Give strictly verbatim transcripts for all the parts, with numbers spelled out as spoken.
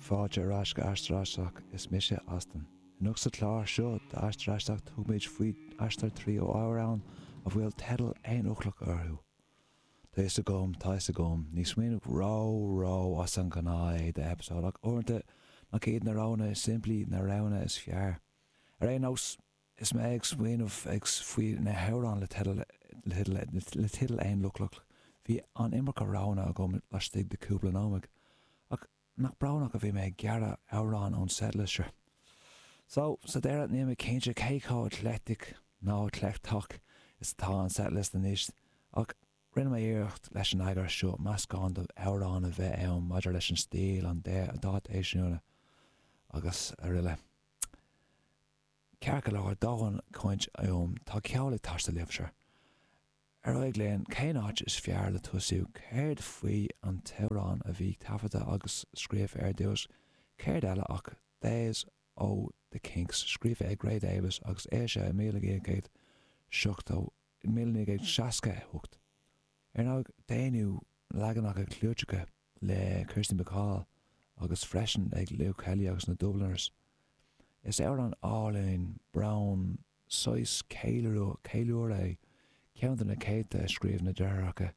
Fáilte ar ais go Aistear Aisteach, is mise Austin. Anocht sa chlár seo d'Aistear Aisteach tugaimid faoi aistear trí amhráin a bhfuil teideal aonfhoclach orthu. Tá fhios agam, tá fhios agam, ní smaoineamh ró ró as an ngnáth é d'eipeasóid ach uaireanta nach iad na roghanna is simplí na roghanna is fearr. Ar aon nós, is mé ag smaoineamh ag faoi na hamhráin le teideal le teideal aonfhoclach, bhí an iomarca roghanna agam laistigh de cúpla nóiméad. Ach nach brónach a bhí mé ag gearradh amhrán ón setlist seo. So, sa deireadh níl mé cinnte cé chomh eclectic nó eclectach is atá an setlist anois, ach rinne mé iarracht leis an eagrán seo meascán d'amhráin a bheith ann maidir leis an stíl an dáta eisiúna agus araile. Ceart go leor dóthain cainte uaim tá ceol ag teastáil libhse. Ar aghaidh linn cén áit is fearr le tosú céard faoi an t-amhrán a bhí taifeadta agus scríofa ar dtús, céard eile ach Days ó The Kinks scríofa ag Ray Davies agus é sé míle naoi gcéad seachtó míle naoi gcéad seasca hocht. Ar ndóigh déanadh leaganacha clúiteacha le Kirsty MacColl agus freisin ag Luke Kelly agus na Dubliners. Is amhrán álainn bróin saghas ceiliúradh é ceann de na céadta a scríobh na deartháireacha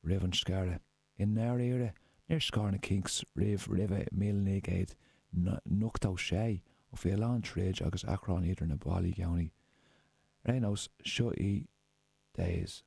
roimh an scaradh. I ndáiríre níor scar na Kinks riamh roimh míle naoi gcéad ochtó sé ó bhí a lán troid agus achrann idir na baill i gcónaí. Ar aon nós seo í Days.